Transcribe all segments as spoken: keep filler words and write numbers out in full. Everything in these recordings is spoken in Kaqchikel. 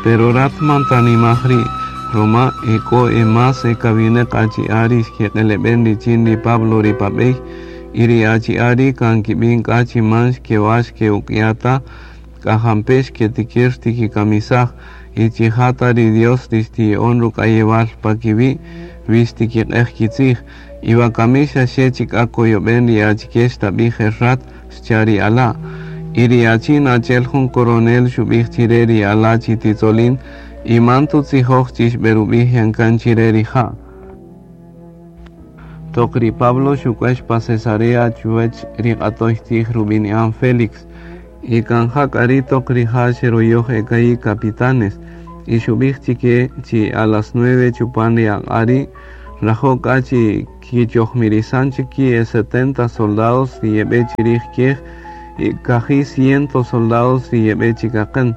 Pero rat man tanimaj ri' ruma e k'o e más e kawineq achi'a' ri xkeq'eleb'en richin ri Pablo ri pa b'ey y ri achi'a' ri' kan kib'in k'a chi man xkewa' xke'uk'ya' ta k'a jampe' xketikir xtikikamisaj y chi ja ta ri Dios ri xtiya'on ruk'ayewal pa kiwi' wi xtikiq'ej kitzij y wakami xaxe chik k'a koyob'en ri achike xtab'ij el rat xcha' ri ala'. Y ri achin achi'el jun coronel xub'ij chire ri ala' chi titzolin y man tutzijoj chi xb'erub'ij yan kan chire rija'. Toq ri Pablo xuk'uex pa Cesarea chuwech ri q'atoy tzij rub'ini'an Félix y kan ja k'a ri' toq rija' xeroyoj e ka'i' capitanes y xub'ij chike chi a las nueve chupan ri aq'a' ri' nrajo' k'a chi kichojmirisan chik ki' e setenta soldados ri yeb'e chirij kiej y kaji' ciento soldados ri yeb'e chikaqän.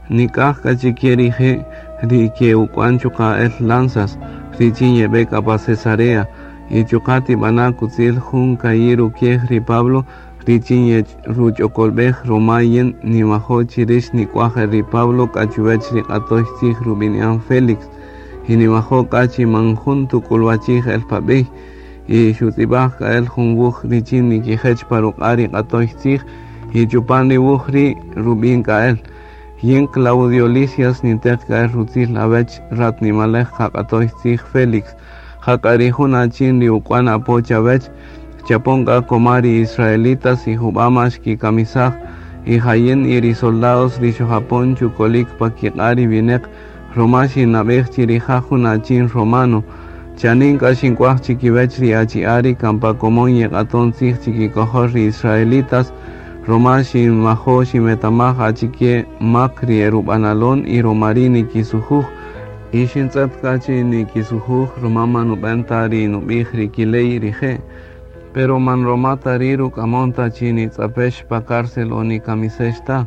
Nik'aj k'a chike rije' ri ke'uk'wan chuqa' el lanzas richin yeb'e k'a pa Cesarea y chuqa' tib'ana' kutzil jun ka'i' rukiej ri Pablo richin ruch'okolb'ej ruma yin nimajo' chi rix nik'uaj el ri Pablo k'a chuwech ri q'atoy tzij rub'ini'an Félix y nimajo' k'a chi man jun tuk'ulwachij el pa b'ey y xutz'ib'aj k'a el jun wuj richin nikijech pa ruq'a' ri q'atoy tzij y chupan ri wuj ri' rub'in k'a el yin Claudio Lisias ninteq k'a el rutzil awech rat nimalej qaq'atoy tzij Félix ja k'a ri jun achin ri uk'wan apo chawech chapon k'a koma ri israelitas y jub'ama xkikamisaj y jayin y ri soldados ri xojapon chukolik pa kiq'a' ri wineq ruma xinab'ej chi rija' jun achin romano. Chanin k'a xink'uaj chikiwech ri achi'a' ri kan pa komon yeq'aton tzij chikikojol ri israelitas ruma xinmajo' ximetamaj achike mak ri erub'analon y ruma ri' nikisujuj y xintz'et k'a chi nikisujuj ruma man nub'en ta ri nub'ij ri kiley rije'. Pero man roma ta ri' ruk'amon ta chi nitz'apex pa cárcel o nikamisex ta.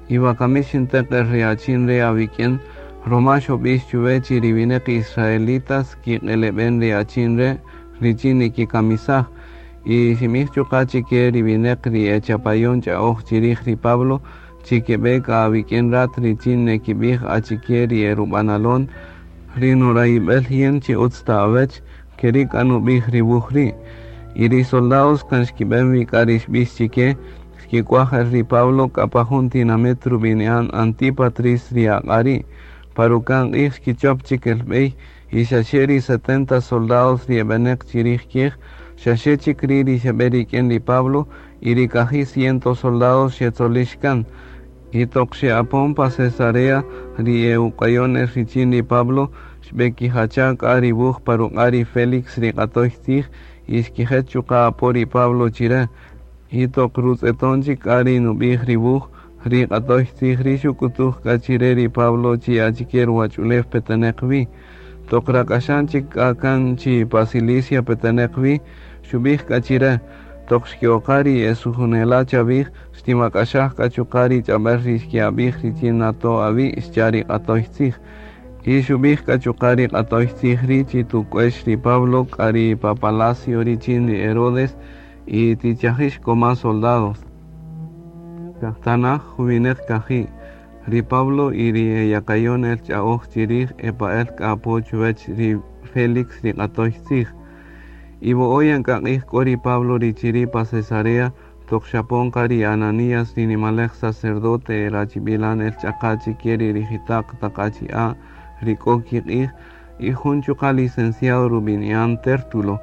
Y wakami xinteq el ri achin re awik'in ruma xob'ix chuwe chi ri wineq israelitas kiq'eleb'en ri achin re' richin nikikamisaj y ximij chuqa' chike ri wineq ri echapayon ch'a'oj chirij ri Pablo chi keb'e k'a awik'in rat richin nekib'ij achike ri erub'analon ri nurayib'el yin chi utz ta awech keri' k'a nub'ij ri wuj ri'. Y ri soldados kan xkib'en wi k'a ri xb'ix chike xkik'uaj el ri Pablo k'a pa jun tinamit rub'ini'an Antípatris ri aq'a' ri'. Pa ruka'n q'ij xkichop chik el b'ey y xaxe ri setenta soldados ri eb'eneq chirij kiej xaxe chik ri' ri xeb'e rik'in ri Pablo y ri kaji' ciento soldados xetzolix kan. Y toq xe'apon pa Cesarea ri e'uk'wayon el richin ri Pablo xb'ekijacha' k'a ri wuj pa ruq'a' ri Félix ri q'atoy tzij y xkijech chuqa' apo ri Pablo chire. Y toq rutz'eton chik k'a ri nub'ij ri wuj ri q'atoy tzij ri' xuk'utuj k'a chire ri Pablo chi achike ruwach'ulew peteneq wi. Toq rak'axan chik k'a kan chi pa Cilicia peteneq wi xub'ij k'a chire toq xke'oqa ri esujunela' chawij xtimak'axaj k'a chuqa' ri ch'ab'äl ri xke'ab'ij richin nato' awi' xcha' ri q'atoy tzij. Y xub'ij k'a chuqa' ri q'atoy tzij ri' chi tuk'uex ri Pablo k'a ri pa palacio richin ri Herodes y tichajix koma soldados. Tanaj juwineq kaji' ri Pablo y ri eyakayon el ch'a'oj chirij epa'el k'a apo chuwech ri Félix ri q'atoy tzij. Y wo'oyan k'a q'ij k'o ri Pablo ri chiri' pa Cesarea toq xapon qa ri Ananías ri nimalej sacerdote rachib'ilan el ch'aqa' chike ri rijita'q taq achi'a' ri k'o kiq'ij y jun chuqa' licenciado rub'ini'an Tértulo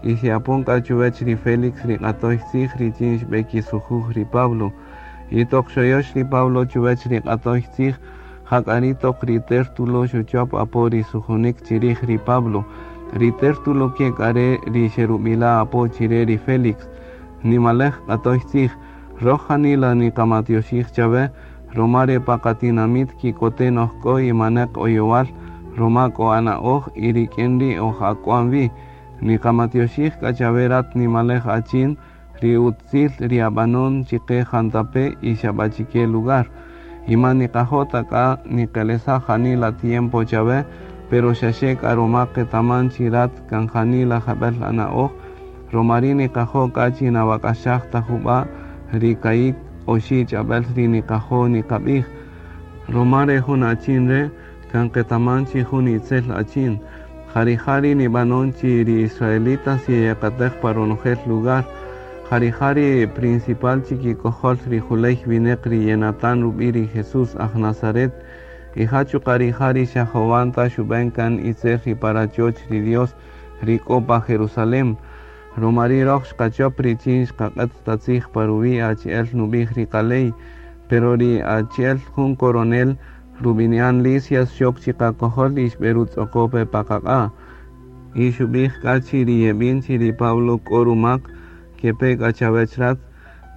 y xe'apon k'a chuwech ri Félix ri q'atoy tzij richin xb'ekisujuj ri Pablo. Y toq xoyox ri Pablo chuwech ri q'atoy tzij ja k'a ri' toq ri Tértulo xuchop apo ri sujunik chirij ri Pablo. Ri Tértulo ke k'a re' ri xerub'ila' apo chire ri Félix nimalej q'atoy tzij roj janila niqamatioxij chawe ruma re pa qatinamit kikoten oj k'o y maneq oyowal ruma k'o ana'oj y rik'in ri' oj ak'wan wi niqamatioxij k'a chawe rat nimalej achin ri utzil ri ab'anon chiqe jantape' y xab'achike lugar y man niqajo' ta k'a niqelesaj janila tiempo chawe pero xaxe k'a ruma qetaman chi rat kan janila jab'el ana'oj ruma ri' niqajo' k'a chi nawak'axaj ta jub'a' ri ka'i' oxi' ch'ab'äl ri niqajo' niqab'ij. Roma re jun achin re kan qetaman chi jun itzel achin. Jari jari nib'anon chi ri israelitas yeyakatej pa ronojel lugar. Jari jari principal chi kikojol ri juley wineq ri yenatan rub'i ri Jesús aj Nazaret. Y ja chuqa' rija' ri xajowan ta xub'en kan itzel ri pa rachoch ri Dios ri k'o pa Jerusalem. Roma ri' roj xqachop richin xqaq'et ta tzij pa ruwi' achi'el nub'ij ri qaley. Pero ri achi'el jun coronel rub'ini'an Lisias xok chi qakojol y xb'erutz'oqo pe pa qaq'a'. Y xub'ij k'a chi ri yeb'in chi ri Pablo k'o rumak kepe k'a chawech rat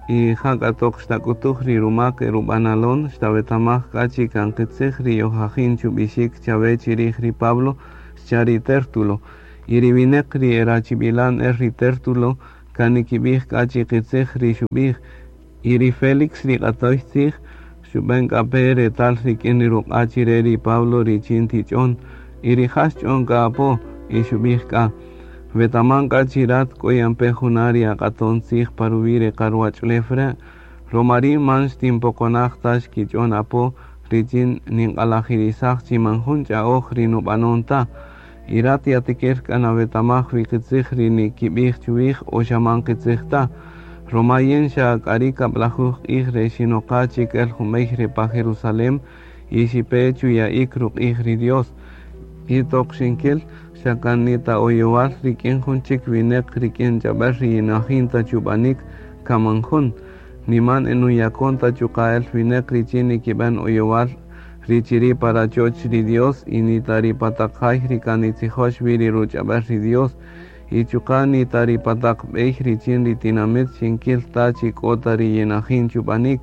y ja k'a toq xtak'utuj ri rumak erub'analon xtawetamaj k'a chi kan qitzij ri yojajin chub'ixik chawe chirij ri Pablo xcha' ri Tértulo. Y ri wineq ri erachib'ilan el ri Tértulo kan nikib'ij k'a chi qitzij ri xub'ij. Y ri Félix ri q'atoy tzij xub'en k'a pe retal rik'in ri ruq'a' chire ri Pablo richin tich'on. Y rija' xch'on k'a apo y xub'ij k'a: Wetaman k'a chi rat k'o yan pe juna' ri aq'aton tzij pa ruwi' ri qaruwach'ulew re'. Roma ri' man xtinpoqonaj ta xkich'on apo richin ninq'alajirisaj chi man jun ch'a'oj ri nub'anon ta. Y rat yatikir k'a nawetamaj wi qitzij ri nikib'ij chuwij o xa man qitzij ta. Roma yin xa k'ari kab'lajuj q'ij re xinoqa chik el junb'ey re pa Jerusalem y xipe chuya'ik ruq'ij ri Dios. Y toq xinkil xa kan nita oyowal rik'in jun chik wineq rik'in ch'ab'äl ri yinajin ta chub'anik kaman jun. Niman enuyakon ta chuqa' el wineq richin nikib'an oyowal ri chiri' pa rachoch ri Dios y nita ri pa taq jay ri kan nitzijox wi ri ruch'ab'äl ri Dios. Y chuqa' nita ri pa taq b'ey richin ri tinamit xinkil ta chi k'o ta ri yinajin chub'anik.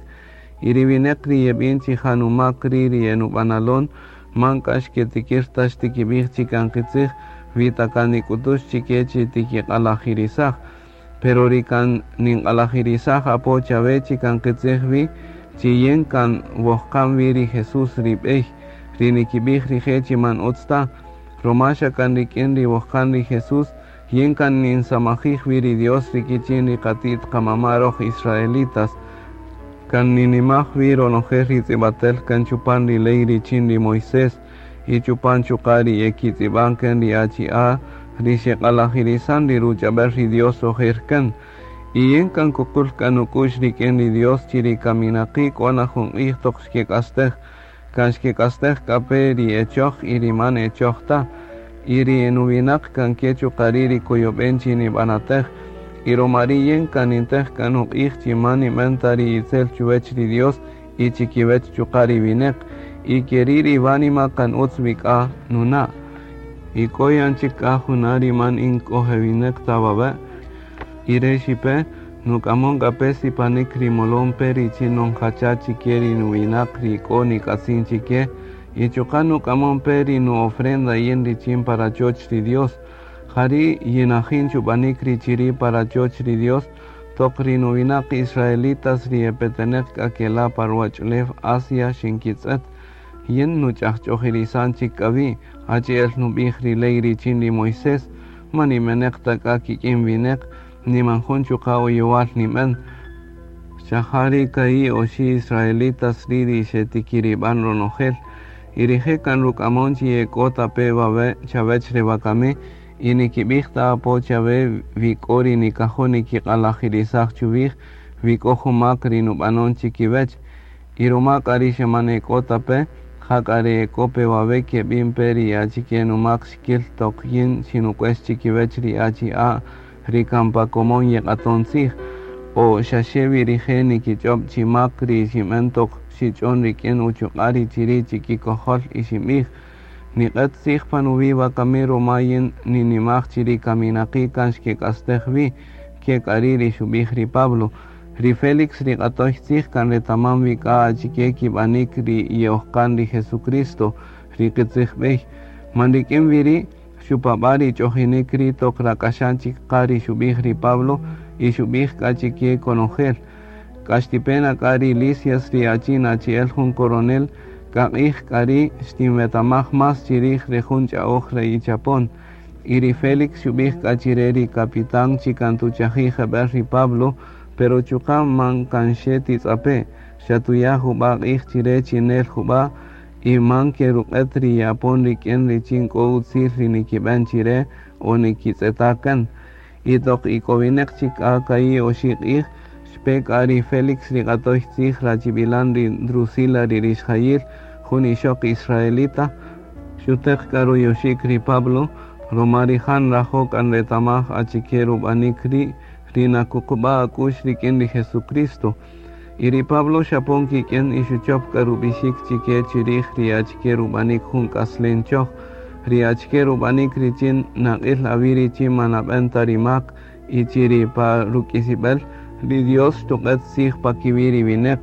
Y ri wineq ri yeb'in chi janumak ri ri enub'analon man k'a xketikir ta xtikib'ij chi kan qitzij wi ta kan nik'utux chike chi tikiq'alajirisaj. Pero ri kan ninq'alajirisaj apo chawe chi kan qitzij wi chi yin kan wojqan wi ri Jesús ri b'ey ri nikib'ij rije' chi man utz ta. Roma xa kan rik'in ri wojqan ri Jesús yin kan ninsamajij wi ri Dios ri kichin ri qatit qamama' roj israelitas. Kan ninimaj wi ronojel ri tz'ib'atel kan chupan ri ley richin ri Moisés y chupan chuqa' ri yekitz'ib'an kan ri achi'a' ri xeq'alajirisan ri ruch'ab'äl ri Dios ojer kan. Y yin kan kuqul k'a nuk'u'x rik'in ri Dios chi ri kaminaqi' k'o na jun q'ij toq xkek'astej. Kan xkek'astej k'a pe ri echoj y ri man echoj ta. Y ri nuwinaq kan ke chuqa' ri' ri koyob'en chi nib'anatej. Y roma ri' yin kan nintej k'a nuq'ij chi man nib'an ta ri itzel chuwech ri Dios y chikiwech chuqa' ri wineq. Y keri' ri wánima kan utz wi k'a nuna'. Y k'o yan chik k'a juna' ri man in k'ojewineq ta wawe'. Y re xipe nuk'amon k'a pe sipanik ri molon pe richin nonjacha chike ri nuwinaq ri k'o nik'atzin chike. Y chuqa' nuk'amon pe ri nu ofrenda yin richin pa rachoch ri Dios. Jari' yinajin chub'anik ri chiri' pa rachoch ri Dios toq ri nuwinaq israelitas ri epeteneq k'a kela' pa ruwach'ulew Asia xinkitz'et. Yin nuch'ajch'ojirisan chik k'a wi' achi'el nub'ij ri ley richin ri Moisés. Man nimeneq ta k'a kik'in wineq niman jun chuqa' oyowal nib'an. Xa ja ri ka'i' oxi' israelitas ri' ri xetikirib'an ronojel. Y rije' kan ruk'amon chi yek'o ta pe wawe' chawech re wakami y nikib'ij ta apo chawe wi k'o ri nikajo' nikiq'alajirisaj chuwij wi k'o jun mak ri nub'anon chikiwech. Y roma k'a ri xa man ek'o ta pe, ja k'a ri ek'o pe wawe' keb'in pe ri achike numak xkil toq yin xinuk'uex chikiwech ri achi'a' ri kan pa komon yeq'aton tzij. O xaxe wi rije' nikich'ob' chi mak ri xinb'an toq xich'on rik'in uchuq'a' ri chiri' chikikojol y xinb'ij: Niq'et tzij pa nuwi' wakami roma yin ninimaj chi ri kaminaqi' kan xkek'astej wi. Ke k'a ri' ri xub'ij ri Pablo. Ri Félix ri q'atoy tzij kan retaman wi k'a achike kib'anik ri ye'ojqan ri Jesucristo ri qitzij b'ey. Man rik'in wi ri' xupab'a' ri ch'ojinik ri' toq rak'axan chik qa ri xub'ij ri Pablo y xub'ij k'a chike konojel. K'a xtipena k'a ri Lisias ri achin achi'el jun coronel k'a q'ij k'a ri' xtinwetamaj mas chirij ri jun ch'a'oj re ichapon. Y ri Félix xub'ij k'a chire ri capitán chi kan tuchajij jeb'el ri Pablo, pero chuqa' man kan xe titz'ape'. Xa tuya' jub'a' q'ij chire chi nel jub'a' y man keruq'et ri ye'apon rik'in richin k'o utzil ri nikib'en chire o nikitz'eta' kan. Y toq ik'owineq chik k'a ka'i' oxi' q'ij, xpe k'a ri Félix ri q'atoy tzij rachib'ilan ri Drusila ri rixjayil, jun ixoq israelita, xuteq k'a ruyoxik ri Pablo, roma rija' nrajo' k'a nretamaj achike rub'anik ri' ri nakuqub'a' ak'u'x rik'in ri Jesucristo. Y ri Pablo xapon kik'in y xuchop k'a rub'ixik chike chirij ri achike rub'anik jun k'aslen choj, ri achike rub'anik richin naq'il awi' richin man nab'en ta ri mak y chi ri pa ruk'isib'el ri Dios xtuq'et tzij pa kiwi' ri wineq.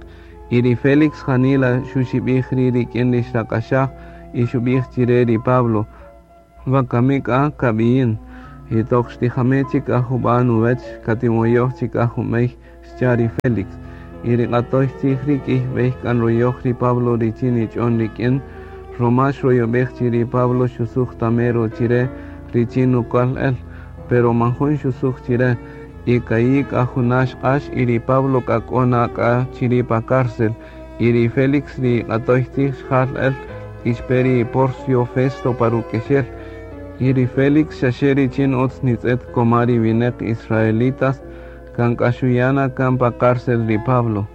Y ri Félix janila xuxib'ij ri' rik'in ri xrak'axaj y xub'ij chire ri Pablo: Wakami k'a kab'iyin, y toq xtijame chik k'a jub'a' nuwech katimoyoj chik k'a junb'ey, xcha' ri Félix. Y ri q'atoy tzij ri' k'iy b'ey k'a nroyoj ri Pablo richin nich'on rik'in, roma xroyob'ej chi ri Pablo xusuj tamero chire richin nuk'wal el, pero man jun xusuj chire. Y ka'i' k'a juna' xq'ax y ri Pablo k'a k'o na k'a chiri' pa cárcel. Y ri Félix ri q'atoy tzij xjal el y xpe ri Porcio Festo pa ruk'exel. Y ri Félix xaxe richin utz nitz'et koma ri wineq israelitas kan k'a xuyana kan pa cárcel ri Pablo.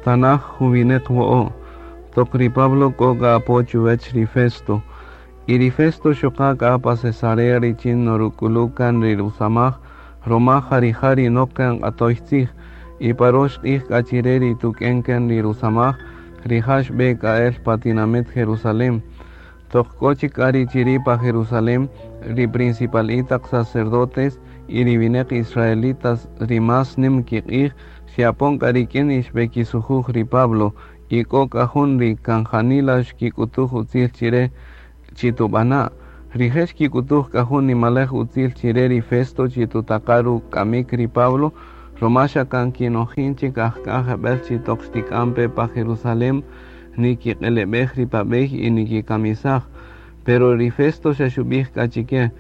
Tanaj juwineq wo'o', toq ri Pablo k'o k'a apo chuwech ri Festo. Y ri Festo xoqa k'a pa Cesarea richin noruk'ulu kan ri rusamaj, roma ja rija' ri nok kan q'atoy tzij. Y pa rox q'ij k'a chire ri tuk'en kan ri rusamaj, rija' xb'e k'a el pa tinamit Jerusalem. Toq k'o chik k'a ri chiri' pa Jerusalem, ri principal taq sacerdotes y ri wineq israelitas ri mas nim kiq'ij xe'apon k'a rik'in y xb'ekisujuj ri Pablo, y k'o k'a jun ri kan janila xkik'utuj utzil chire chi tub'ana'. Rije' xkik'utuj k'a jun nimalej utzil chire ri Festo chi tutaqa' ruk'amik ri Pablo, roma xa kan kinojin chik ajk'a jeb'el chi toq xtik'an pe pa Jerusalem nikiq'eleb'ej ri pa b'ey y nikikamisaj. Pero ri Festo xa xub'ij k'a chike: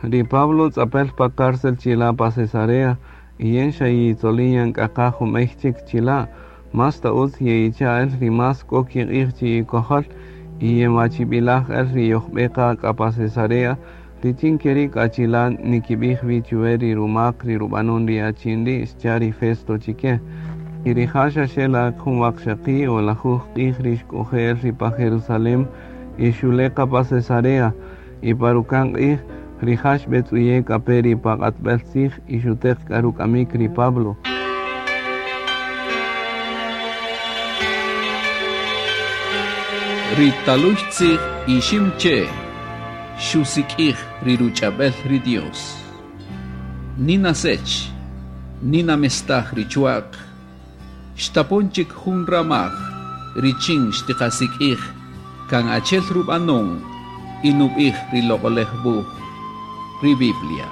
Ri Pablo tz'apel pa cárcel chila' pa Cesarea, y yen xa yitzolin yan k'a qa junb'ey chik chila', mas ta utz ye'icha' el ri mas k'o kiq'ij chi ikojol y yenwachib'ilaj el ri yojb'e qa k'a pa Cesarea, richin keri' k'a chila' nikib'ij wi chuwe ri rumak ri rub'anun ri achin ri', xcha' ri Festo chike. Y rija' xaxe la jun waqxaqi' o lajuj q'ij ri xk'oje' el ri pa Jerusalem y xule' qa pa Cesarea, y pa ruka'n q'ij rija' xb'etz'uye' k'a pe ri pa q'atb'el tzij y xuteq k'a ruk'amik ri Pablo. Ri taluy tzij ixim che xusik'ij ri ruch'ab'el ri Dios. Nina sech, nina mestaj ri chuaq, xtapon chik jun ramaj richin xtiqasik'ij kan achel rub'anon y nub'ij ri loq'olej wuj, ri Biblia.